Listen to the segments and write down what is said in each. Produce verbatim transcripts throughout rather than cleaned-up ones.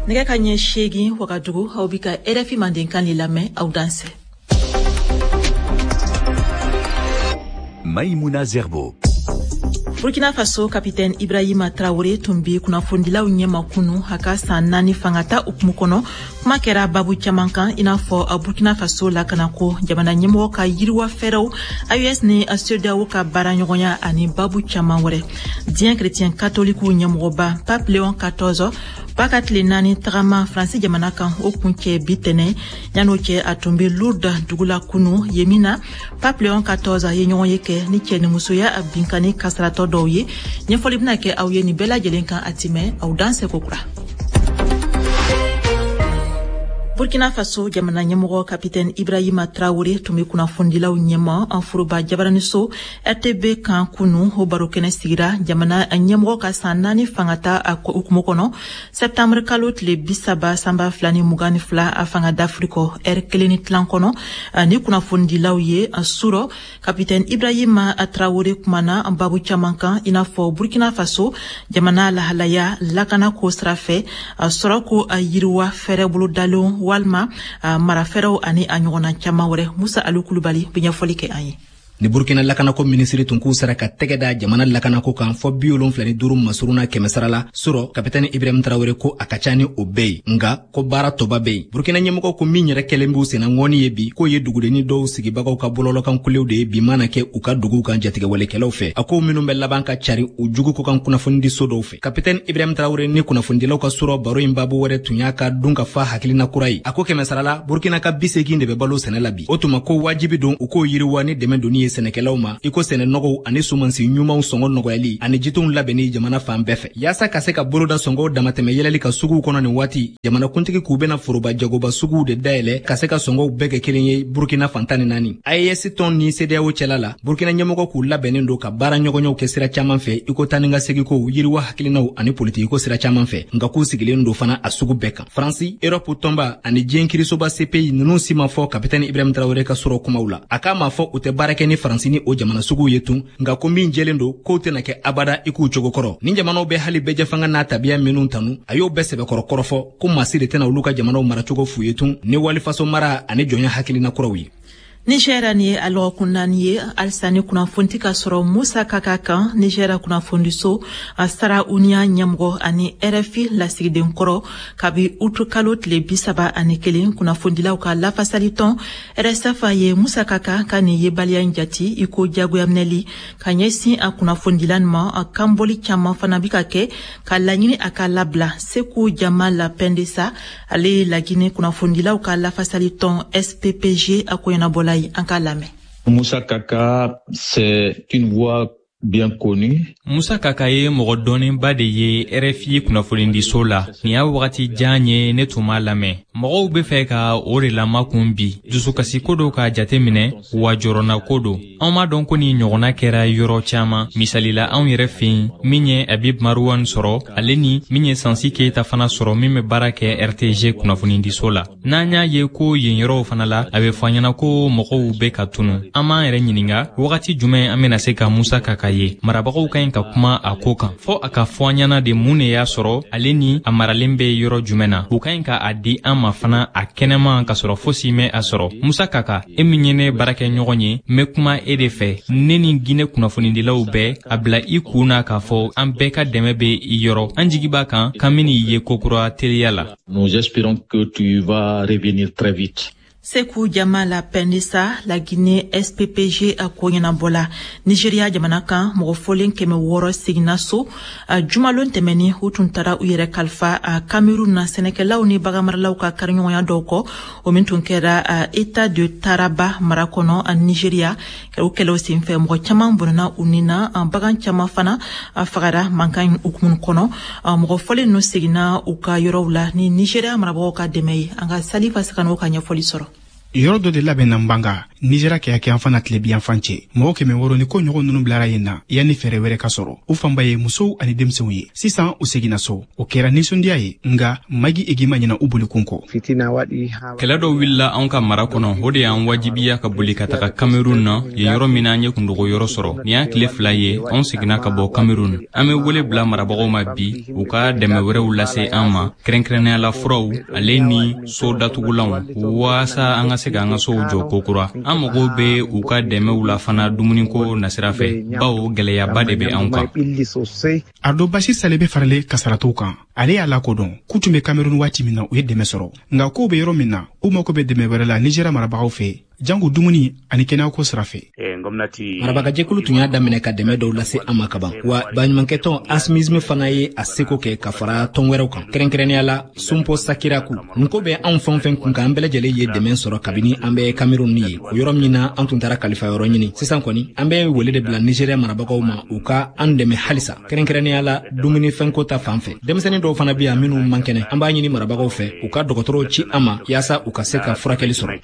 Nɛgɛ ka ɲɛ seegin Wagadugu, aw bi ka R F I Mandenkan de lamɛn. Aw dansɛ. Maïmouna Zerbo. Burkina Faso Kapitɛn Ibrahima Traoré tun bi kunnafonidilaw ɲɛma kunu, a ka san naani fangata hukumu kɔnɔ. Kuma kɛra babu caman kan, i n'a fɔ Burkina Faso lakanako, jamana ɲɛmɔgɔ ka yiriwa fɛɛrɛw, A E S ni CEDEAO ka baaraɲɔgɔnya ani babu caman wɛrɛ. Diɲɛ chrétien katolikiw ɲɛmɔgɔba Pape Léon quatorze b'a ka tile naani tagama Faransi jamana kan, o kuncɛ bi tɛnɛ. Yan'o cɛ, a tun be Lourdes dugu la kunu. Yen min na, Pape Léon quatorze ye ɲɔgɔn ye kɛ ni cɛnimusoya binkani kasaratɔ dɔw ye. Ɲɛfɔli bɛna kɛ aw ye nin bɛɛ lajɛlen kan. A timɛ, aw dansɛ kokura. Burkina Faso jamana ɲɛmɔgɔ Kapitɛn Ibrahima Traoré tun be kunnafonidilaw ɲɛma an foroba jabaraniso R T B kan kunu. O baro kɛnɛ sigira jamana ɲɛmɔgɔ ka san naani fangata hukumu kɔnɔ, sɛptanbr kalo tile bi saba sanba fila ni mugan ni fila a fanga dafiri kɔ, ɛri kelen ni tilan kɔnɔ ni kunnafonidilaw ye surɔ. Kapitɛn Ibrahima Traoré kumana babu caman kan, i n'a fɔ Burkina Faso jamana lahalaya, lakana ko sira fɛ, sɔrɔ ko yiriwa fɛɛrɛ bolodalenw walima marafɛɛrɛw ani a ɲɔgɔnna caman wɛrɛ. Musa Alu Kulubali bɛ ɲɛfɔli kɛ an ye. Ni Burkina lakanako minisiri tun k'u sera ka tɛgɛ da jamana lakanako kan fɔ bi wolonfila ni duuru masuruna kɛmɛ sara la surɔ, Kapitɛni Ibrahim Tarawele ko a ka ca ni o bɛɛ ye, nga ko baara tɔba bɛ yen. Burkina ɲɛmɔgɔw ko min yɛrɛ kɛlen b'u senna ŋɔni ye bi, k'o ye dugudenni dɔw sigibagaw ka bɔlɔlɔkan kulew de ye bi mana kɛ u ka duguw kan jatigɛwalekɛlaw fɛ, a ko minnu bɛ laban ka cari u jugu ko kan kunnafonidi so dɔw fɛ. Kapitɛni Ibrahim Tarawele ni kunnafonidilaw ka surɔ baro in babu wɛrɛ tun y'a ka dun ka fa hakilina kura ye. A ko kɛmɛ sara la, Burkina ka bi segin de bɛ balo sɛnɛ la bi. O tuma ko wajibi don u k'o yiriwa ni dɛmɛ donni ye sɛnɛkɛlaw ma, i ko sɛnɛ nɔgɔw ani sumansi ɲumanw sɔngɔ nɔgɔyali ani jitonw labɛnni jamana fan bɛɛ fɛ, yaasa ka se ka boloda sɔngɔw damatɛmɛ yɛlɛli ka suguw kɔnɔ. Nin waati, jamanakuntigi k'u bɛna foroba jagoba suguw de dayɛlɛ ka se ka sɔngɔw bɛɛ kɛ kelen ye Burkina fan tan ni naani. A E S tɔn ni CEDEAO cɛla la, Burkina ɲɛmɔgɔ k'u labɛnnen don ka baara ɲɔgɔnɲɔw kɛ sira caman fɛ, i ko taa ni ka segikow, yiriwa hakilinaw ani politikiko sira caman fɛ, nka k'u sigilen don fana a sugu bɛɛ kan. Faransi, Erɔpu tɔnba ani diɲɛ kirisoba C P I ninnu si ma fɔ Kapitɛni Ibrahim Tarawele ka sɔrɔ kumaw la. A k'a ma fɔ u tɛ baara kɛ ni Faransi ni o jamana suguw ye tun, nka ko min jɛlen don, k'o tɛna kɛ abada i k'u cogo kɔrɔ. Nin jamanaw bɛ hali bɛɛjɛfanga n'a tabiya minnu tanu, a y'o bɛɛ sɛbɛkɔrɔ kɔrɔfɔ ko maa si de tɛna olu ka jamanaw maracogo f'u ye tun ni walifaso mara ani jɔnya hakilina kuraw ye. Nigɛra, ni ye a lɔgɔkun naani ye halisa ni kunnafoni tɛ ka sɔrɔ Musa Kaka kan, Nigɛra kunnafonidiso Sahraounia ɲɛmɔgɔ ani R F I lasigiden kɔrɔ. Kabi utu kalo tile bi saba ani kelen, kunnafonidilaw ka lafasali tɔn R S F ye Musa Kaka ka nin yebaliya in jati i ko jagoyaminɛli ka ɲɛsin a kunnafonidila nin ma. A kanbɔli caman fana bi ka kɛ ka laɲini a ka labila. Seku Jamal Pendesa, ale ye Lagine kunnafonidilaw ka lafasali tɔn S P P G a koɲɛnabɔla ye. An k'a lamɛn. Moussa Kaka, c'est une voix bien connue. Musa Kaka ye mɔgɔ dɔnnenba de ye R F I kunnafonidiso la. Nin y'a wagati jan ye ne tun m'a lamɛn. Mɔgɔw be fɛ ka o de lamakun bi. Dusukasiko do k'a jate minɛ, wa jɔrɔnako don. Anw m'a dɔn ko nin ɲɔgɔnna kɛra yɔrɔ caaman. Misalila, anw yɛrɛ fɛ yen, min ye Habib Marouane sɔrɔ, ale ni min ye Sansi Keyita fana sɔrɔ, min be baara kɛ R T G kunnafonidiso la. N'an y'a ye ko yen yɔrɔw fana la, a be fɔ an ɲɛna ko mɔgɔw be ka tunu. An b'an yɛrɛ ɲininga wagati jumɛn an bena se ka Musa Kaka ye. Marabagaw ka ɲi ka kuma a ko kan, fɔɔ a ka fɔ an ɲɛna de mun de y'a sɔrɔ, ale ni a maralen bɛ yɔrɔ jumɛn na. U ka ɲi ka a di an ma fana a kɛnɛma, k'a sɔrɔ fosi mɛ a sɔrɔ. Musa Kaka, e min ye ne baarakɛ ɲɔgɔn ye, n be kuma e de fɛ, ne ni Ginɛ kunnafonidilaw bɛɛ. A bila i kun na k'a fɔ an bɛɛ ka dɛmɛ be i yɔrɔ. An jigi b'a kan k'an ben'i ye kokura teliya la. Nous espérons que tu vas revenir très vite. Seku Jamala Pendesa, la Guinée S P P G a ko ɲɛnabɔla. Nigeria jamana kan, mɔgɔ fɔlen kɛmɛ wɔɔrɔ seginna so a jumalon tɛmɛni. U tun taara u yɛrɛ kalifa a Cameroun na, sɛnɛkɛlaw ni baganmaralaw ka kariɲɔgɔnya dɔw kɔ, o min tun kɛra a état de Taraba mara kɔnɔ a Nigeria. O kɛlɛw senfɛ, mɔgɔ caman bɔnɛna u ni na, bagan caman fana a fagara mankan in hukumu kɔnɔ. Mɔgɔ fɔlen ninnu seginna u ka yɔrɔw la ni Nigeria marabagaw ka dɛmɛ ye. An ka Salifa Sagano ka ɲɛfɔli sɔrɔ. Yɔrɔ dɔ de labɛnna Nbanga. Nizeriya kɛyakɛyanfan na tilebiyanfan cɛ. Mɔgɔ kɛmɛ wɔɔrɔ ni ko ɲɔgɔn ninnu bilara yen na yanni fɛɛrɛ wɛrɛ ka sɔrɔ. U fanba ye musow ani denmisɛnw ye. Sisan u seginna so. O kɛra nisɔndiya ye, nka Magi Egi ma ɲinɛ u bolikun kɔ. Kɛlɛ dɔ wulila anw ka mara kɔnɔ, o de y'an wajibiya ka boli ka taga Cameroun na, yen yɔrɔ min na an ye kundogo yɔrɔ sɔrɔ. Nin y'a tile fila ye, anw seginna ka bɔ Cameroun. An bɛ wele bila marabagaw ma bi, u ka dɛmɛ wɛrɛw lase an ma, kɛrɛnkɛrɛnnenya la furaw, ale ni so datugulanw, waasa an ka se k'an ka sow jɔ kokura. An mago bɛ u ka dɛmɛw la fana dumuniko nasira fɛ, bawo gɛlɛyaba de bɛ anw kan. Ardo Bashir Sale bɛ faralen kasaratɔw kan. Ale y'a lakodɔn k'u tun bɛ Cameroun waati min na, u ye dɛmɛ sɔrɔ. Nka kow bɛ yɔrɔ min na, u mako bɛ dɛmɛ wɛrɛ la Nizeriya marabagaw fɛ, jango dumuni ani kɛnɛyako sira fɛ. Marabagajɛkulu tun y'a daminɛ ka dɛmɛ dɔw lase an ma kaban, wa baɲumankɛtɔn Asmisme fana ye a seko kɛ ka fara tɔn wɛrɛw kan, kɛrɛnkɛrɛnnenya la Sunpo Sakiraku. Nin ko bɛ anw fɛn o fɛn kun kan, an bɛɛ lajɛlen ye dɛmɛ sɔrɔ kabini an bɛ Cameroun ye, o yɔrɔ min na an tun taara kalifa yɔrɔ ɲini. Sisan kɔni an bɛ wele de bila Nizeriya marabagaw ma, u ka an dɛmɛ halisa, kɛrɛnkɛrɛnnenya la dumunifɛnko ta fan fɛ. Denmisɛnnin dɔw fana bɛ yan minnu man kɛnɛ, an b'a ɲini marabagaw fɛ u ka dɔgɔtɔrɔw ci an ma yaasa u ka se ka furakɛli sɔrɔ.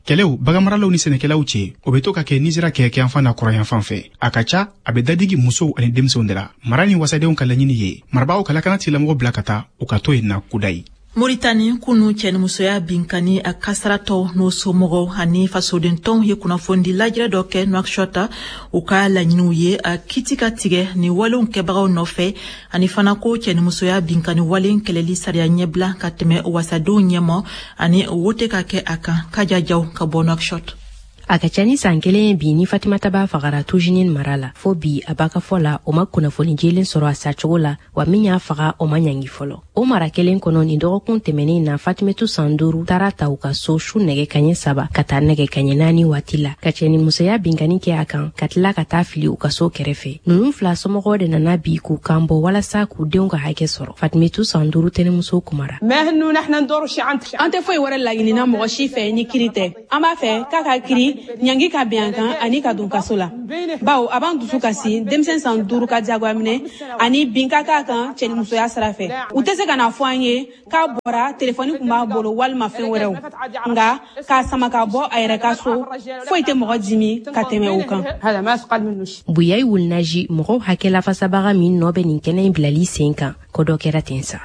Kɛlɛw baganmaralaw ni sɛnɛkɛlaw cɛ, o bɛ to ka kɛ Nizeriya kɛyakɛyanfan na kɔrɔyanfan fɛ. A ka ca, a bɛ dadigi musow ani denmisɛnw de la. Mara ni wasadenw ka laɲini ye marabagaw ka lakana tigilamɔgɔw bila ka taa u ka to yen na kudayi. Moritani, kunu cɛnimusoya binkani a kasaratɔw n'o somɔgɔw ani fasodentɔnw ye kunnafonidi lajɛrɛ dɔ kɛ Nouakchott. U ka laɲiniw ye a kiti ka tigɛ ni walenw kɛbagaw nɔfɛ, ani fana ko cɛnimusoya binkani walen kɛlɛli sariya ɲɛbila ka tɛmɛ wasadenw ɲɛma, ani wote ka kɛ a kan. Kaja Jaw ka bɔ Nouakchott. A ka ca ni san kelen bi ni Fatimata b'a fagara Tujinin mara la. Fo bi, a b'a ka fɔ la, o ma kunnafoni jɛlen sɔrɔ a sacogo la, wa min y'a faga, o ma ɲangi fɔlɔ. O mara kelen kɔnɔ, nin dɔgɔkun tɛmɛnen na, Fatimetu san duuru taara ta u ka so su nɛgɛ kaɲɛ saba ka taa nɛgɛ kaɲɛ naani waati la, ka cɛnimusoya binkani kɛ a kan, ka tila ka taa fili u ka so kɛrɛfɛ. Ninnu fila somɔgɔw de nana bi k'u kan bɔ walasa k'u denw ka hakɛ sɔrɔ. Fatimetu san duuru tɛnɛmuso kumara. An tɛ foyi wɛrɛ laɲinina mɔgɔ si fɛ ni kiri tɛ. An b'a fɛ k'a ka kiri ɲangi ka bɛn an kan ani ka don kaso la, bawo a b'an dusu kasi denmisɛn san duuru ka diyagoya minɛ ani bin ka k'a kan cɛnimusoya sira fɛ. U tɛ se ka na fɔ an ye k'a bɔra telefɔni kun b'a bolo walima fɛn wɛrɛw, nka k'a sama ka bɔ a yɛrɛ ka so, foyi tɛ mɔgɔ dimi ka tɛmɛ o kan. Buyayi Wulinaji, mɔgɔw hakɛ lafasabaga min nɔ bɛ nin kɛnɛ in bilali sen kan, ko dɔ kɛra ten sa.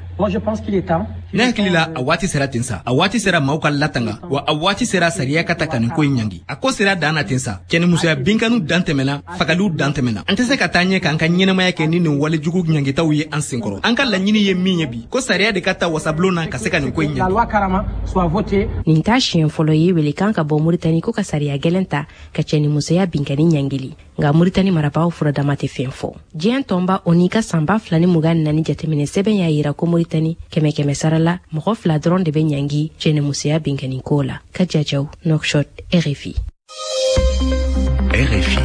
Ne hakili la, a waati sera ten sa. A waati sera maaw ka latanga, wa a waati sera sariya ka ta ka nin ko in ɲangi. A ko sera dan na ten sa. Cɛnimusoya binkaniw dan tɛmɛna, fagaliw dan tɛmɛna. An tɛ se ka taa ɲɛ k'an ka ɲɛnamaya kɛ ni nin walejugu ɲangitaw ye an senkɔrɔ. An ka laɲini ye min ye bi, ko sariya de ka ta wasabulon na ka se ka nin ko in ɲangi. Nin t'a siɲɛ fɔlɔ ye welekan ka bɔ Moritani ko ka sariya gɛlɛn ta ka cɛnimusoya binkani ɲangili, nka Moritani marabagaw furadama tɛ fɛn fɔ. Diɲɛ tɔnba o n'i ka san ba fila ni mugan ni naani jateminɛ sɛbɛn y'a yira ko Moritani, kɛmɛ kɛmɛ sara la, mɔgɔ fila dɔrɔn de bɛ ɲangi cɛnimusoya binkani ko la. Kaja Jaw, Nouakchott, R F I. R F I.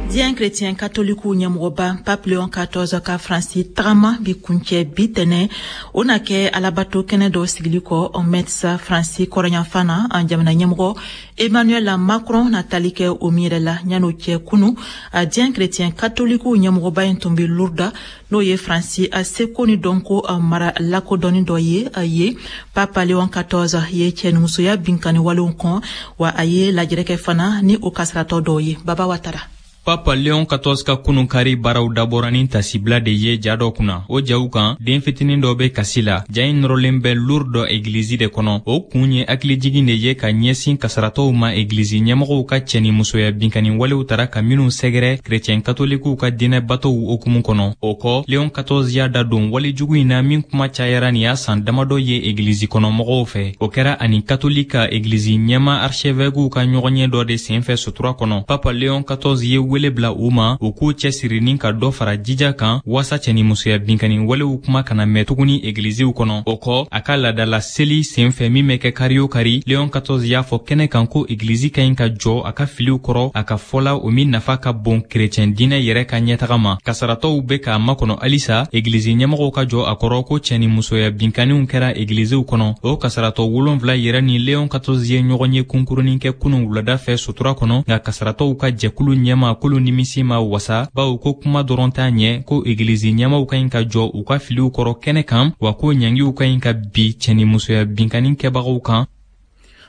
Diɲɛ chrétien katolikiw ɲɛmɔgɔba Pape Léon quatorze ka Faransi tagama bi kuncɛ bi tɛnɛ. O na kɛ alabato kɛnɛ dɔ sigili kɔ Metz, Faransi kɔrɔyanfan na. An jamana ɲɛmɔgɔ Emmanuel Macron na tali kɛ o min yɛrɛ la. Yan'o cɛ, kunu a diɲɛ chrétien katolikiw ɲɛmɔgɔba in tun bɛ Lourdes, n'o ye Faransi a seko ni dɔnko mara lakodɔnni dɔ ye ye. Pape Léon quatorze ye cɛnimusoya binkani walenw kɔn, wa a ye lajɛrɛ kɛ fana ni o kasaratɔ dɔw ye. Baba Watara. Papa Leon quatorze ka kunun kari baaraw dabɔra ni tasibila de ye ja dɔ kunna. O jaw kan, den fitinin dɔ bɛ kasi la. Ja in nɔrɔlen bɛ Lourdes egilizi de kɔnɔ. O kun ye hakilijigin de ye ka ɲɛsin kasaratɔw ma, egilizi ɲɛmɔgɔw ka cɛni musoya binkani walew tara ka minw sɛgɛrɛ kerecɛn katolikiw ka diinɛ batow hukumu kɔnɔ. O kɔ, Leon quatorze y'a da don walejugu in na min kuma cayara nin y'a san damadɔ ye egilizi kɔnɔ mɔgɔw fɛ. O kɛra ani katolika egilizi ɲɛma archevêquew ka ɲɔgɔnye dɔ de senfɛ sutura kɔnɔ. Papa Leon quatorze ye wele bila u ma u k'u cɛsiri ni ka dɔ fara jija kan waasa cɛnimusoya binkani walew kuma kana mɛn tuguni egiliziw kɔnɔ. O kɔ, a ka laadala seli senfɛ min bɛ kɛ kari o kari, Leon quatorze y'a fɔ kɛnɛ kan ko egilizi ka ɲi ka jɔ a ka filiw kɔrɔ, a ka fɔla o min nafa ka bon kerecɛn diinɛ yɛrɛ ka ɲɛtaga ma. Kasaratɔw bɛ k'a makɔnɔ halisa egilizi ɲɛmɔgɔw ka jɔ a kɔrɔ ko cɛnimusoya binkaniw kɛra egiliziw kɔnɔ. O kasaratɔ wolonfila yɛrɛ ni Leon quatorze ye ɲɔgɔn ye kunkurunin kɛ kunun wulada fɛ sutura kɔnɔ, nka kasaratɔw ka jɛkulu ɲɛma k'olu nimisi ma wasa, bawo ko kuma dɔrɔn t'a ɲɛ, ko egilizi ɲɛmaw ka ɲi ka jɔ u ka filiw kɔrɔ kɛnɛ kan, wa ko ɲangiw ka ɲi ka bi cɛnimusoya binkani kɛbagaw kan.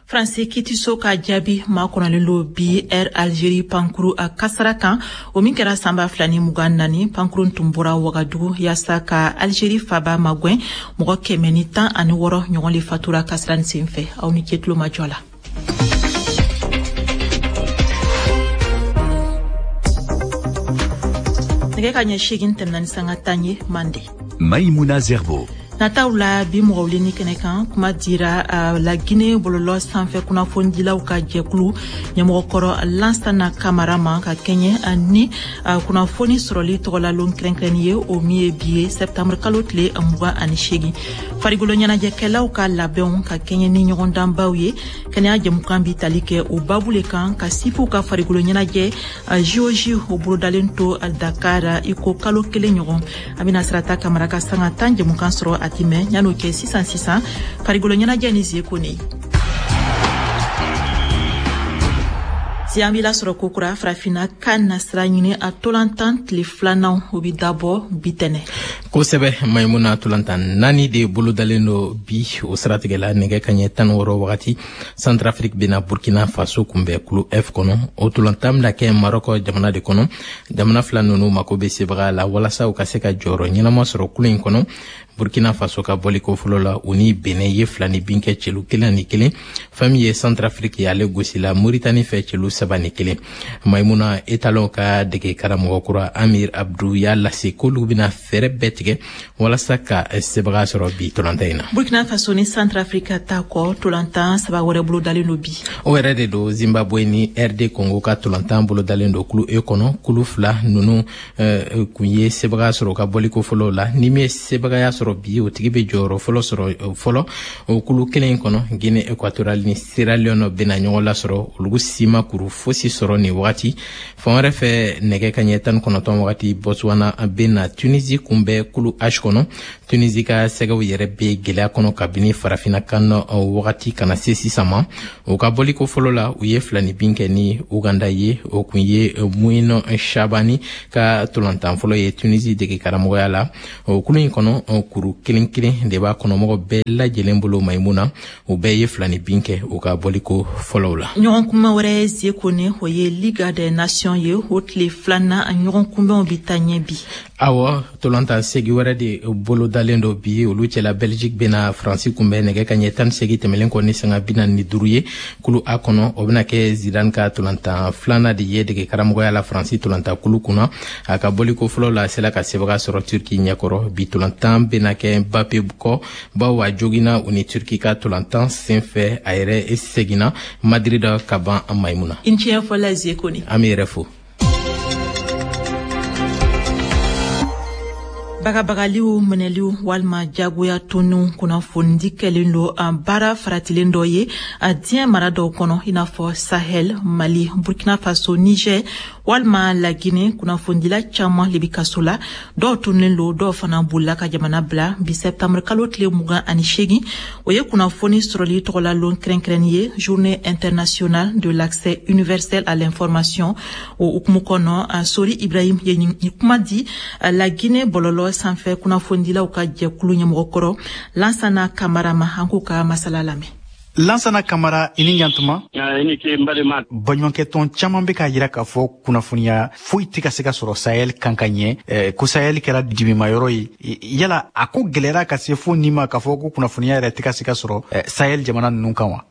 Faransi kitiso ka jaabi makɔnɔlen don bi Air Algérie pankuru a kasara kan, o min kɛra san ba fila ni mugan naani. Pankurun tun bɔra Wagadugu yaasa ka Algérie faba magɛn. Mɔgɔ kɛmɛ ni tan ani wɔɔrɔ ɲɔgɔn le fatura kasara nin sen fɛ. Aw ni ce tulomajɔ la. Nɛgɛ ka ɲɛ seegin tɛmɛna ni sanga tan ye Mande. Maïmouna Zerbo. Nataw la bi mɔgɔ wuleni kɛnɛ kan, kuma dira la Guinée bɔlɔlɔ sanfɛ kunnafonidilaw ka jɛkulu ɲɛmɔgɔkɔrɔ Lansana Kamara ma, ka kɛɲɛ ni kunnafoni sɔrɔli tɔgɔlalon kɛrɛnkɛrɛnni ye, o min ye bi ye septembre kalo tile mugan ani seegin. Farikolo ɲɛnajɛkɛlaw ka labɛnw ka kɛɲɛ ni ɲɔgɔndanbaw ye, kɛnɛya jɛmukan bi tali kɛ o babu le kan, ka sifuw ka farikolo ɲɛnajɛ J O J o bolodalen to Dakar i ko kalo kelen ɲɔgɔn. A bɛna Sirata Kamara ka sanga tan jɛmukan sɔrɔ a mɛ yan'o kɛ sisan sisan farikolo ɲɛnajɛ ni Zeko ne si an b'i lasɔrɔ kokura farafinna kan na sira ɲini a tolantan tile filanan, o bi dabɔ bi tɛnɛ. Kosɛbɛ Maimuna, tolantan naani de bolodalen do bi. O siratigɛ la, nɛgɛ kaɲɛ tan wɔɔrɔ wagati, Centrafrique bena Burkina Faso kunbɛn kulu F kɔnɔ. O tolantan bɛna kɛ Marɔkɔ jamana de kɔnɔ. Jamana fila ninnu mako bɛ sebaga la walasa u ka se ka jɔyɔrɔ ɲɛnama sɔrɔ kulu in kɔnɔ. Burkina Faso ka bɔliko fɔlɔ la, u ni Benin ye fila ni bin kɛ celu kelen ani kelen. Fɛn min ye Centrafrique ye, ale gosila Mauritanie fɛ celu saba ni kelen. Maimuna, Etalon ka dege karamɔgɔ kura Amir Abdou y'a lase k'olu bɛna fɛɛrɛ bɛɛ tigɛ walasa ka sebaga sɔrɔ bi tolantan in na. Burkina Faso ni Centrafrique ta kɔ, tolantan saba wɛrɛ bolodalen don bi. O yɛrɛ de don, Zimbabwe ni R D Congo ka tolantan bolodalen don kulu E kɔnɔ. Kulu fila ninnu kun ye sebaga sɔrɔ ka bɔliko fɔlɔ la. Ni min ye sebagaya sɔrɔ bi, o tigi bɛ jɔyɔrɔ fɔlɔ sɔrɔ fɔlɔ o kulu kelen in kɔnɔ. Guinée Équatoriale ni Sierra Leone bɛna ɲɔgɔn lasɔrɔ, olu si ma kuru fosi sɔrɔ nin wagati. Fan wɛrɛ fɛ, nɛgɛ kaɲɛ tan ni kɔnɔntɔn wagati, Botswana bɛna Tunisie kunbɛn kulu H kɔnɔ. Tunisie ka sɛgɛw yɛrɛ bɛ gɛlɛya kɔnɔ kabini farafinna kan wagati kana se sisan ma. O ka bɔliko fɔlɔ la, u ye fila ni bin kɛ ni Uganda ye. O kun ye Mouino Shabani ka tolantan fɔlɔ ye Tunisie dege karamɔgɔya la. O kulu in kɔnɔ, kuru kelen kelen de b'a kɔnɔmɔgɔ bɛɛ lajɛlen bolo Maimuna. U bɛɛ ye fila ni bin kɛ u ka bɔliko fɔlɔw la. Ɲɔgɔn kunbɛn wɛrɛ Zeko ne, o ye Ligue des Nations ye. O tile filanan ɲɔgɔn kunbɛnw bi taa ɲɛ bi. Awɔ, tolantan segi wɛrɛ de bolodalen do bi. Olu cɛla, Belgique bɛna Faransi kunbɛn nɛgɛ kaɲɛ tan ni seegin tɛmɛlen kɔ ni sanga bi naani ni duuru ye kulu A kɔnɔ. O bɛna kɛ Zidane ka tolantan filanan de ye dege karamɔgɔya la Faransi tolantan kulu kunna. A ka bɔliko fɔlɔ la, a sela ka sebaga sɔrɔ Turki ɲɛkɔrɔ. Bi tolantan bɛna kɛ Mbappe kɔ, bawo a joginna u ni Turki ka tolantan sen fɛ. A yɛrɛ seginna Madrid ka ban Maimuna. I ni ce fɔla Zeko ne. An bɛ yɛrɛ fo. Bagabagaliw, minɛliw walima jagoya toniw kunnafonidi kɛlen don an baara faratilen dɔ ye a diɲɛ mara dɔw kɔnɔ, i n'a fɔ Sahel, Mali, Burkina Faso, Niger walima La Guinée. Kunnafonidila caman le bi kaso la, dɔw tununnen don, dɔw fana bolila ka jamana bila. Bi septembre kalo tile mugan ani seegin, o ye kunnafoni sɔrɔli tɔgɔla lon kɛrɛnkɛrɛnni ye, Journée internationale de l'accès universel à l'information. O hukumu kɔnɔ, Sori Ibrahim ye nin kuma di La Guinée bɔlɔlɔ sanfɛ kunnafonidilaw ka jɛkulu ɲɛmɔgɔkɔrɔ Lansana Kamara ma. An k'u ka masala lamɛn. Lansana Kamara, i ni ɲantuma. I ni ce n balima. Baɲumankɛtɔn caman bɛ k'a jira k'a fɔ kunnafoniya foyi tɛ ka se ka sɔrɔ Sahel kan ka ɲɛ, ko Sahel kɛra dimimayɔrɔ ye. Yala a ko gɛlɛyara ka se fo nin ma k'a fɔ ko kunnafoniya yɛrɛ tɛ ka se ka sɔrɔ Sahel jamana ninnu kan wa?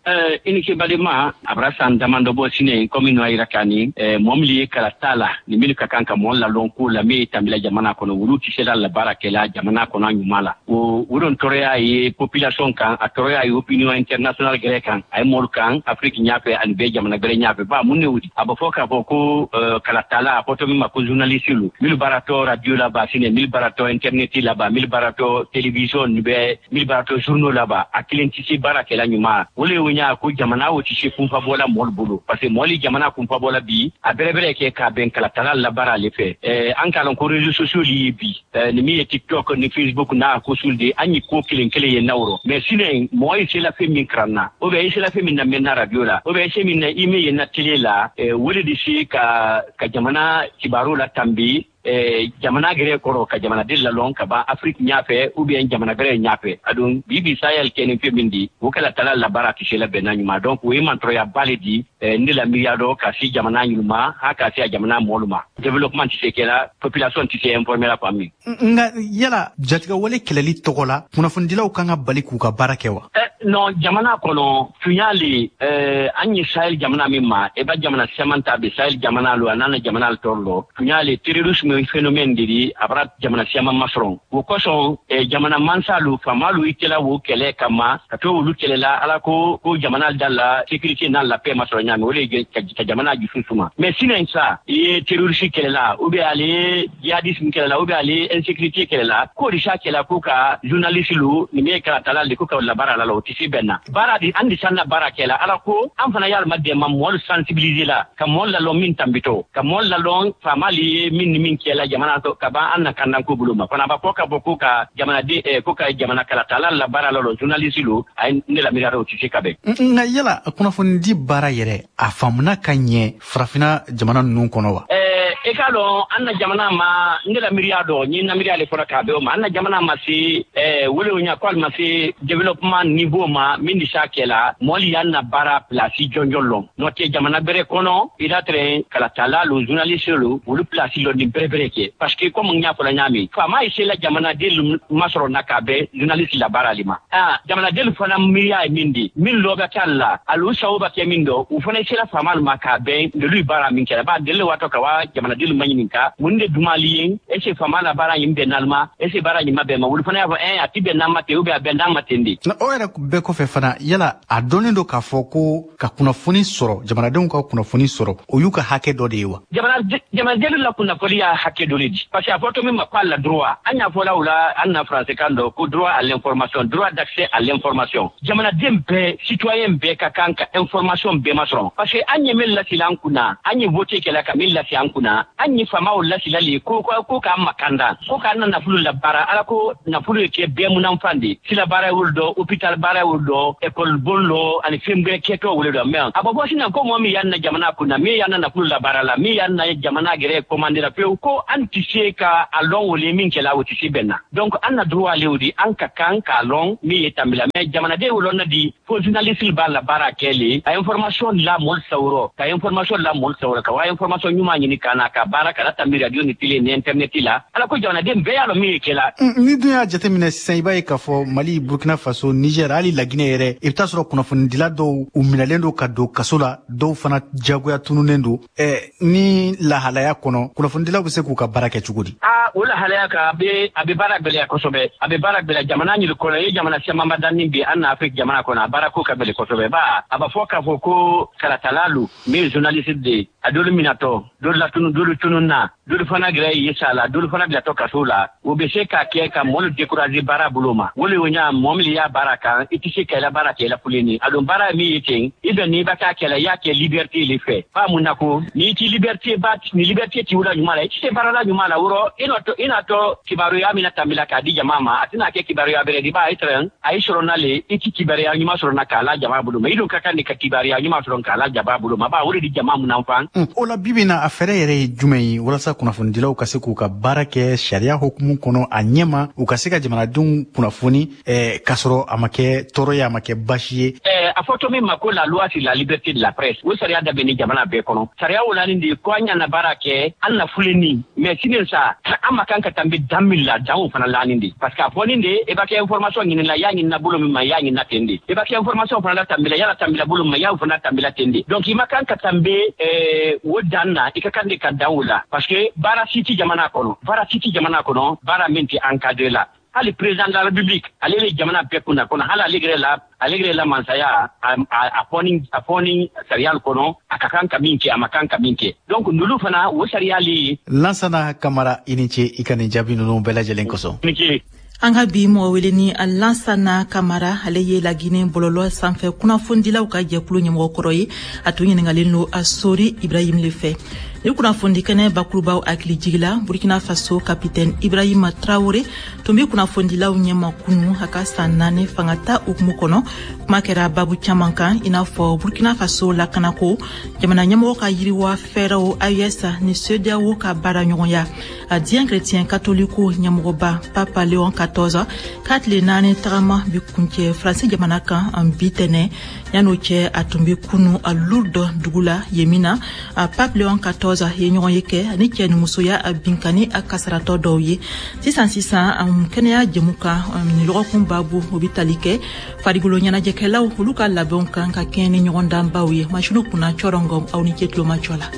I ni ce balima, a bɔra san damadɔ bɔ sini komi n'o yira k'a ni mɔgɔ min ye kalata la ni minnu ka kan ka mɔgɔ lalɔn ko la min ye tambila jamana kɔnɔ, olu tɛ se la baara kɛla jamana kɔnɔ ɲuman la. O o don tɔɔrɔya ye population kan, a tɔɔrɔya ye opinion internationale gɛrɛ kan, a ye mɔlu kan Afrique ɲɛfɛ ani bɛɛ jamana gɛrɛ ɲɛfɛ. Ba mun ne wuli a bɛ fɔ k'a fɔ ko kalatala a fɔtɔ min ma ko journaliste lu minnu baaratɔ radio la ba sini, minnu baaratɔ internet la ba, minnu baaratɔ télévision ni bɛɛ, minnu baaratɔ journaux la ba, a kelen tɛ se baara kɛla ɲuman. O le y'o ɲa ko jamana o tɛ se kunfa bɔla mɔlu bolo, parce que mɔli jamana kunfa bɔla bi a bɛrɛbɛrɛ kɛ k'a bɛn kalatala la baara ale fɛ. An k'a lɔn ko réseaux sociaux ye bi ni min ye TikTok ni Facebook n'a ko sul de an ye ko kelen kelen ye n'aw rɔ, mais sini mɔgɔ ye se la fɛn min karan na na ou bien i sela fɛn min na mɛn na radio la ou bien i se min na i min ye na télé la, o de se ka ka jamana kibaru la tanbi eh, jamana gɛrɛ kɔrɔ, ka jamanaden lalɔn ka ban Afrique ɲafɛ ou bien jamana gɛrɛ ɲafɛ. Adon bibi Sahel kɛni fɛn min di, o kɛla tala la baara tɛ se la bɛnna ɲuman. Donc o ye mantɔrɔya ba le di eh, ne la miiriya dɔ ka se jamana ɲuman ha ka se a jamana mɔlu ma. Développement tɛ se kɛla, population tɛ se informer la fan min. Nka yala jatigɛwale kɛlɛli tɔgɔ la, kunnafonidilaw kan ka bali k'u ka baara kɛ wa? Eh, non, jamana kɔnɔ tunya le eh, an ye Sahel jamana min ma, e ba jamana siaman ta be Sahel jamana lo, a nana jamana tɔrɔ lɔ tunya le terrorisme phénomène de di a bara jamana siaman masɔrɔ. O kosɔn eh, jamana mansalu faamalu i kɛla wo kɛlɛ kama ka to olu kɛlɛla ala ko ko jamana da la sécurité n'a la paix masɔrɔ ɲaami, o de ye ka, ka jamana jusu suma. Mais sinon sa i ye terroriste kɛlɛla ou bien ale ye djihadisme kɛlɛla ou bien ale ye insécurité kɛlɛla, k'o de sa kɛla ko ka journaliste lu ni min ye kalatala le ko ka labaara la la, o tɛ se bɛn na baara di. An de san na baara kɛla ala ko an fana y'alima dɛmɛ mɔɔlu sensibiliser la, ka mɔɔlu lalɔn min tanbitɔ, ka mɔɔlu lalɔn faamali ye min ni min kɛla jamana to ka ban an na kandanko bolo ma fana b'a fɔ ka bɔ ko ka jamanaden eh, ko ka jamana kalatala la baara la lɔ journaliste lu a ye ne la miiriya o tɛ se ka bɛn. Nka yala kunnafonidi baara yɛrɛ, a faamuna ka ɲɛ farafinna jamana ninnu kɔnɔ wa? Eh, i k'a dɔn an na jamana ma, ne la miiriya dɔ n ye na miiriya le fɔra k'a bɛn o ma, an na jamana ma se eh, wele o ɲa ko ali ma se développement niveau ma min di s'a kɛla mɔli y'an na baara place jɔnjɔn lɔn. N'o tɛ jamana bɛrɛ kɔnɔ i la tɛrɛ kalatala lo journaliste lo olu place lɔ ni bɛrɛ bɛrɛ kɛ, parce que comme n y'a fɔla ɲaami, faama ye sela jamanaden masɔrɔ na k'a bɛn journaliste la baara le ma. Ah, jamanaden fana miiriya ye min di min lɔ bɛ kɛ la alu sago bɛ kɛ min dɔ, u fana sela faama ma k'a bɛn olu baara min kɛra ba deli waatɔ ka wa jamanaden ma ɲininka mun de dumali ye, est ce que faama la baara ɲin bɛn n'ale est ce que baara ɲin ma bɛn ma, olu fana y'a fɔ ɛn a ti bɛn n'an ma ten ou bien a bɛn n'an ma ten de. O yɛrɛ bɛɛ kɔfɛ fana, yala a dɔnnen don k'a fɔ ko ka kunnafoni sɔrɔ, jamanadenw ka kunnafoni sɔrɔ, o y'u ka hakɛ dɔ de ye wa? Jamanaden la kunnafoni y'a hakɛ dɔ de di, parce que a fɔ to min ma ko a la droit, an y'a fɔla o la an na français kan dɔ ko droit à l'information, droit d'accès à l'information. Jamanaden bɛɛ, citoyen bɛɛ ka kan ka information bɛɛ masɔrɔ, parce que an ye min lasila an kunna, an ye vote kɛla ka min lasi an kunna, an ye faamaw lasila le ko ko ko k'an makanda, ko k'an na nafolo labaara ala ko nafolo ye kɛ bɛɛ munanfan de sila baara wolo dɔ, hôpital baara wolo dɔ, école bon lɔ ani fɛn bɛɛ kɛtɔ wolo dɔ. Mais a bɔ bɔ sisan ko mɔgɔ min y'an na jamana kunna, min y'an na nafolo labaara la, min y'an na jamana gɛrɛ commandé la pewu, ko an tɛ se ka a lɔn wole min kɛla, o tɛ se bɛn na. Donc an na droit ale o di an ka kan k'a lɔn min ye tanbila. Mais jamanaden wolon na di fo journaliste b'a la baara kɛ le a information la mɔli sawurɔ, ka information la mɔli sawurɔ, ka wa information ɲuman ɲini ka na ka baara ka tanbi radio ni télé ni internet la ala ko jamanaden bɛɛ y'a lɔn min ye kɛla. Ni dun y'a jateminɛ sisan, i b'a ye k'a fɔ Mali, Burkina Faso, Niger, hali Laginɛ yɛrɛ, i bɛ taa sɔrɔ kunnafonidila dɔw u minɛlen don ka don kaso la, dɔw fana jagoya tununnen don. eh, ni lahalaya kɔnɔ, kunnafonidilaw bɛ se k'u ka baara kɛ cogo di? Aa, o lahalaya kan a bɛ a bɛ baara gɛlɛya kosɛbɛ, a bɛ baara gɛlɛya jamana ɲini kɔnɔ. I ye jamana camanba danni bi an na Afrique jamana kɔnɔ, a baara ko ka gɛlɛn kosɛbɛ ba a b'a fɔ k'a fɔ ko kalatala lu min ye journaliste de ye, a dolu minatɔ, dolu latunu, dolu tunun na, dolu fana gɛrɛ ye sa la, dolu fana bilatɔ kaso la. O bɛ se k'a kɛ ka mɔlu décourager baara bolo ma. O le o ɲa mɔɔ min y'a baara kan, i tɛ se ka i la baara kɛ i la fulenni a don baara min ye ten i bɛ n'i b'a k'a kɛ la, i y'a kɛ liberté le fɛ ba mun na ko n'i ti liberté ba ni liberté ti wula ɲuman la, i tɛ se baara la ɲuman la wɔrɔ i n'a tɔ i n'a tɔ kibaruya min na tanbila k'a di jama ma, a tɛna kɛ kibaruya bɛrɛ di ba i tɛrɛn a ye sɔrɔ n'ale i ti kibaruya ɲuman sɔrɔ na k'a la jama bolo ma. I dun ka kan de ka kibaruya ɲuman sɔrɔ k'a la jama bolo ma ba o de di jama mun fan. O la bibi na, a fɛɛrɛ yɛrɛ ye jumɛn ye walasa kunnafonidilaw ka se k'u ka baara kɛ sariya hukumu kɔnɔ a ɲɛma, u ka se ka jamanadenw kunnafoni eh, k'a sɔrɔ a ma kɛ tɔɔrɔ ye, a ma kɛ basi ye? Eh, a fɔ to min ma ko la loi sur la liberté de la presse, o sariya da bɛ ni jamana bɛɛ kɔnɔ. Sariya o la nin de ko an ɲana baara kɛ an na fulenni, mais sini sa an ma kan ka tanbi dan min la, dan o fana lanin de, parce que a fɔ nin de i b'a kɛ information ɲini la, i y'a ɲini na bolo min ma, i y'a ɲini na ten de, i b'a kɛ information fana la tanbi la, i y'a tanbi la bolo min ma, i y'a fana tanbi la ten de. Donc i ma kan ka tanbi eh, o dan na, i ka kan de ka dan o la, parce que baara si ti jamana kɔnɔ, baara si ti jamana kɔnɔ baara min tɛ encadré la. Hali président de la République ale le jamana bɛɛ kunna kɔnɔ, hali ale yɛrɛ la ale yɛrɛ la mansaya a a fɔ a fɔ ni sariya kɔnɔ a ka kan ka min kɛ, a ma kan ka min kɛ. Donc nulu fana o sariya le. Lansana Kamara, i ni ce i ka nin jaabi ninnu bɛɛ lajɛlen kosɔn. Ni ce. An ka bi mɔgɔ wele ni Lansana Kamara, ale ye Laginɛ bɔlɔlɔ sanfɛ kunnafonidilaw ka jɛkulu ɲɛmɔgɔ kɔrɔ ye. A tun ɲiningalen don a Sori Ibrahim le fɛ. Ni kunnafoni kɛnɛ bakurubaw hakili jigila, Burkina Faso capitaine Ibrahima Traoré tun bɛ kunnafonidilaw ɲɛma kunu a ka san naani fanga ta hukumu kɔnɔ. Kuma kɛra babu caman kan, i n'a fɔ Burkina Faso lakanako, jamana ɲɛmɔgɔ ka yiriwa fɛɛrɛw, A E S ni CEDEAO ka baara ɲɔgɔnya. A diɲɛ chrétien catholique ɲɛmɔgɔba Papa Léon quatorze k'a tile naani tagama bi kuncɛ Faransi jamana kan bi tɛnɛ. Yan'o cɛ, a tun bɛ kunu a Lourdes dugu la yen min na a Pape Léon quatorze ye ɲɔgɔn ye kɛ ani cɛ ni musoya a binkani a kasaratɔ dɔw ye. Sisan sisan, kɛnɛya jɛmu kan, nin lɔgɔkun babu, o bɛ tali kɛ farikolo ɲɛnajɛkɛlaw olu ka labɛnw kan ka kɛɲɛ ni ɲɔgɔndanbaw ye. Masiniw kunna cɔrɔngɔ, aw ni ce tulomajɔ la.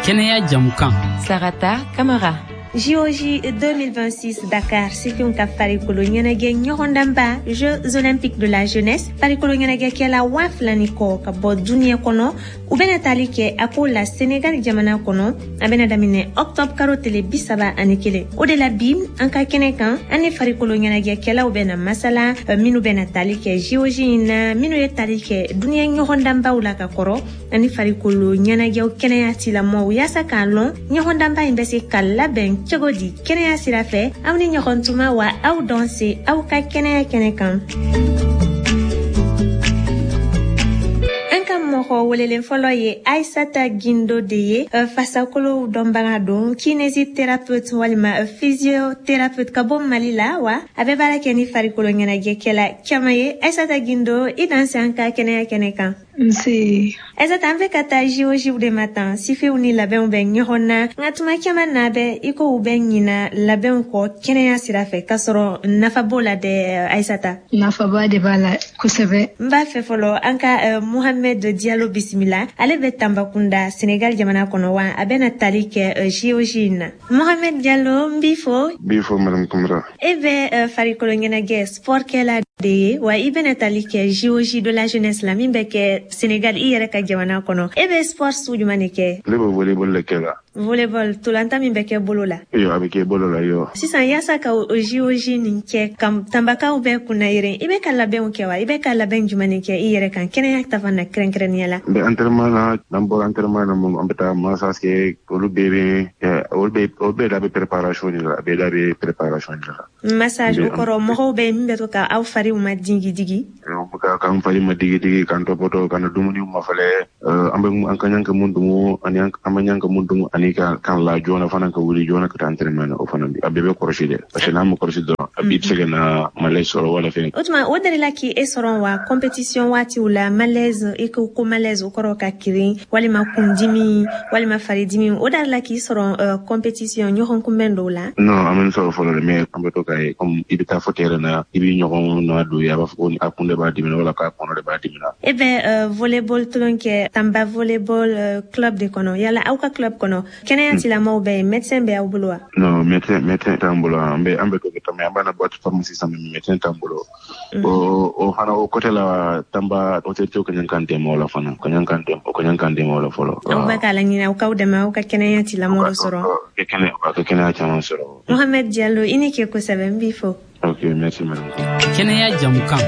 Kɛnɛya jamukan. Sarata Kamara. J O J deux mille vingt-six Dakar, sifinw ka farikolo ɲɛnajɛ ɲɔgɔndanba, Jeux olympiques de la jeunesse, farikolo ɲɛnajɛkɛla waa fila ni kɔ ka bɔ duniɲɛ kɔnɔ, u bɛna tali kɛ a ko la Senegal jamana kɔnɔ. A bɛna daminɛ octobre karo tele bi saba ani kelen. O de la bi, an ka kɛnɛ kan, an ni farikolo ɲɛnajɛkɛlaw bɛna masala, minnu bɛna tali kɛ J O J in na, minnu ye tali kɛ duniɲɛ ɲɔgɔndanbaw la ka kɔrɔ, ani farikolo ɲɛnajɛw kɛnɛya tilamɔw, yaasa k'a lɔn ɲɔgɔndanba in bɛ se ka labɛn cogo di kɛnɛya sira fɛ. Aw ni ɲɔgɔn tuma wa, aw dɔn se aw ka kɛnɛya kɛnɛ kan. An ka mɔgɔ welelen fɔlɔ ye Aisata Gindo de ye, fasakolow dɔnbaga don, kinésithérapeute walima physiothérapeute ka bɔ Mali la, wa a bɛ baara kɛ ni farikolo ɲɛnajɛkɛla caman ye. Aisata Gindo, i danse an ka kɛnɛya kɛnɛ kan. Nse. Aisata, an bɛ ka taa J O J de ma tan, sifinw ni labɛnw bɛ ɲɔgɔn na, nka tuma caman na bɛ i ko u bɛ ɲina labɛnw kɔ kɛnɛya sira fɛ, k'a sɔrɔ nafa b'o la dɛ, Aisata. Nafaba de b'a la kosɛbɛ. N b'a fɛ fɔlɔ an ka uh, Mohamed Diallo bisimila. Ale bɛ Tambakunda, Senegal jamana kɔnɔ, wa a bɛna tali kɛ uh, J O J in na. Mohamed Diallo, n b'i fo. N b'i fo, madame Kamara. E bɛ uh, farikolo ɲɛnajɛ sport kɛla de ye, wa i bɛna tali kɛ J O J de la jeunesse la min bɛ kɛ Senegal, i yɛrɛ ka jamana kɔnɔ. E bɛ sport sugu jumɛn de kɛ? Ne bɛ volleyball de kɛ la. Volleyball, tolanta min bɛ kɛ bolo la. Iyo, a bɛ kɛ bolo la yo. Sisan, yaasa ka o J O J nin kɛ ka Tanbakaw bɛɛ kunna yɛrɛ, i bɛ ka labɛnw kɛ wa? I bɛ ka labɛn jumɛn de kɛ i yɛrɛ kan kɛnɛya ta fan na kɛrɛnkɛrɛnnenya la? N bɛ entraînement na, n'an bɔra entraînement na, an bɛ taa massage kɛ. Olu bɛɛ bɛ olu bɛɛ olu bɛɛ da bɛ préparation de la, a bɛɛ da bɛ préparation de la. Massage, o kɔrɔ mɔgɔw bɛ min bɛ to ka aw fariw ma digi digi? K'an fari ma digi digi, k'an tɔpɔtɔ, k'an dumuni mafɛlɛ, an bɛ an ka ɲan ka mun dumu ani an ma ɲan ka mun dumu, ani ka kan la joona fana, ka wuli joona ka taa entraînement na. O fana a bɛɛ bɛ kɔlɔsi dɛ, parce que n'an ma kɔlɔsi dɔrɔn, a b'i bɛ se ka na malaise sɔrɔ wala fɛn. O tuma, o delila k'i sɔrɔ wa compétition waatiw la, malaise? I ko ko malaise, o kɔrɔ ka kirin walima kundimi walima faridimi, o delila k'i sɔrɔ compétition ɲɔgɔn kunbɛn dɔw la? Non, an bɛ nin sɔrɔ fɔlɔ dɛ, mais an bɛ to k'a ye comme i bɛ taa fɔ terrain na, i b'i ɲɔgɔn na don ye, a b'a fɔ ko a kun de b'a dimi wala k'a kɔnɔ de b'a dimi na. E bɛ volleyball tulon kɛ Tamba volleyball club de kɔnɔ. Yala aw ka club kɔnɔ, kɛnɛya tigilamɔgɔw bɛ yen, médecin bɛ aw bolo wa? Non, médecin médecin t'an bolo. An bɛ an bɛ to kɛ mais an b'a na boîte pharmacie sisan, mais médecin t'an bolo. O o fana, o côté la, Tamba autorité ka ɲan k'an dɛmɛ o la fana, ka ɲan k'an dɛmɛ, o ka ɲan k'an dɛmɛ o la fɔlɔ. Aw bɛ k'a laɲini aw k'aw dɛmɛ aw ka kɛnɛya tigilamɔgɔw sɔrɔ. Ka kɛnɛ ka kɛnɛya caman sɔrɔ. Mohamed Diallo, i ni ke kosɛbɛ, n b'i fo. Ok, merci madame. Kɛnɛya jamukan.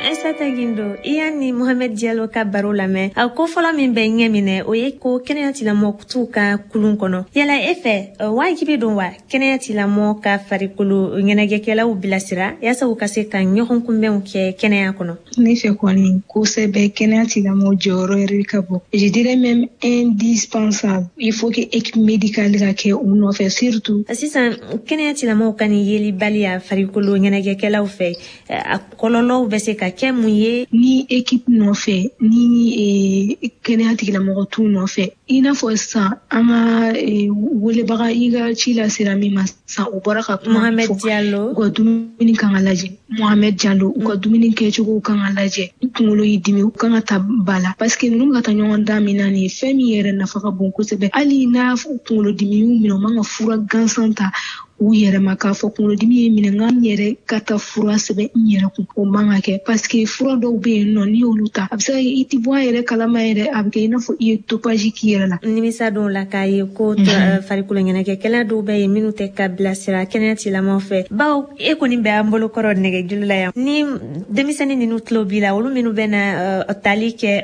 Aisata Gindo, i y'a ni Mohamed Diallo ka baro lamɛn. A ko fɔlɔ min bɛ ɲɛ minɛ, o ye ko kɛnɛya tigilamɔgɔ t'u ka kulun kɔnɔ. Yala e fɛ, wajibi don wa kɛnɛya tigilamɔgɔ ka farikolo ɲɛnajɛkɛlaw bilasira yaasa u ka se ka ɲɔgɔn kunbɛnw kɛ kɛnɛya kɔnɔ? Ne fɛ kɔni, kosɛbɛ, kɛnɛya tigilamɔgɔ jɔyɔrɔ yɛrɛ ka bon, je dirais même indispensable. Il faut que équipe médicale ka kɛ u nɔfɛ surtout. Sisan, kɛnɛya tigilamɔgɔw ka nin yelibaliya farikolo ɲɛnajɛkɛlaw fɛ, a kɔlɔlɔw bɛ se ka kɛ mun ye? Ni équipe nɔfɛ, ni kɛnɛya tigilamɔgɔ t'u nɔfɛ, i n'a fɔ sisan an ka welebaga, i ka ci lasera min ma sisan, o bɔra ka kuma. Mohamed Diallo. U ka dumuni kan ka lajɛ. Mohamed Diallo, u ka dumuni kɛcogo kan ka lajɛ. Ni kunkolo y'i dimi, u kan ka ta ba la, parce que ninnu ka taa ɲɔgɔn dan min na nin ye, fɛn min yɛrɛ nafa ka bon kosɛbɛ. Hali n'a kunkolo dimi y'u minɛ, u man ka fura gansan ta. u yɛrɛ ma k'a fɔ kunkolodimi ye minɛ, n ka n yɛrɛ ka taa fura sɛbɛn n yɛrɛ kun, o man ka kɛ, parce que fura dɔw bɛ yen nɔ, n'i y'olu ta, a bɛ se ka i ti bɔ a yɛrɛ kalama yɛrɛ, a bɛ kɛ i n'a fɔ i ye dopage k'i yɛrɛ la. Nimisa dɔw la k'a ye ko farikolo ɲɛnajɛkɛla dɔw bɛ yen minnu tɛ ka bilasira kɛnɛya tigilamɔgɔw fɛ, bawo e kɔni bɛ an bolo kɔrɔ nɛgɛjuru la yan, ni denmisɛnnin ninnu tulo b'i la, olu minnu bɛ na tali kɛ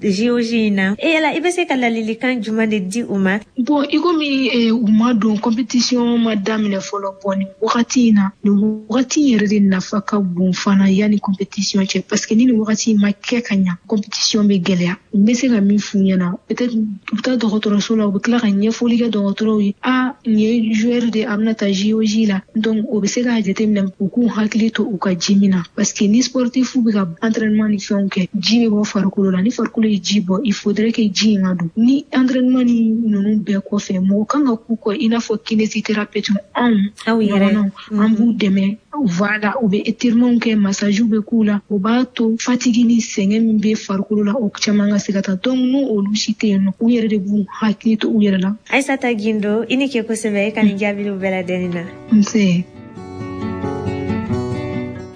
J O J in na, e yala i bɛ se ka ladilikan jumɛn de di u ma? Bon, i komi u ma don compétition ma daminɛ fɔlɔ, bon nin wagati in na, nin wagati in yɛrɛ de nafa ka bon fana yanni compétition cɛ, parce que ni nin wagati in ma kɛ ka ɲa, compétition bɛ gɛlɛya. N bɛ se ka min f'u ɲɛna, peut-être u bɛ taa dɔgɔtɔrɔso la, u bɛ tila ka ɲɛfɔli kɛ dɔgɔtɔrɔw ye, a nin ye joueur de, a bɛna taa J O J la, donc o bɛ se k'a jateminɛ u k'u hakili to u ka ji min na, parce que ni sportif bɛ ka entraînement ni fɛnw kɛ, ji bɛ bɔ farikolo la, ni farikolo ye ji bɔ, il faudrait que ji in ka don. Ni entraînement ni ninnu bɛɛ kɔfɛ, mɔgɔ kan ka k'u kɔ i n'a fɔ kinésithérapeute, anw ɲɔgɔnnaw, an b'u dɛmɛ. Voilà, u bɛ étirement kɛ, massage bɛ k'u la, o b'a to fatigue ni sɛgɛn min bɛ farikolo la, o caman ka se ka taa. Donc n'o olu si tɛ yen nɔ, u yɛrɛ de b'u hakili to u yɛrɛ la. Aïssata Guindo, i ni ke kosɛbɛ, i ka nin jaabiliw bɛɛ lajɛlen na. Nse.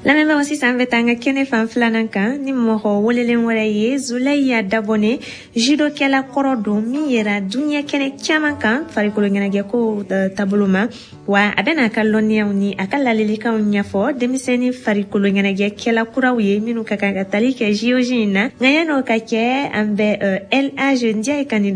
Lamɛnbagaw, sisan bɛ taa an ka kɛnɛ fan filanan kan ni mɔgɔ welelen wɛrɛ ye, Zulɛya Dabɔne, judokɛla kɔrɔ don min yera diɲɛ kɛnɛ caman kan farikolo ɲɛnajɛko taabolo ma, wa a bɛna a ka lɔnniyaw ni a ka ladilikanw ɲɛfɔ denmisɛnnin farikolo ɲɛnajɛkɛla kuraw ye minnu ka kan ka tali kɛ J O J in na. Nka yan'o ka kɛ, an bɛ L A G Ndiaye ka nin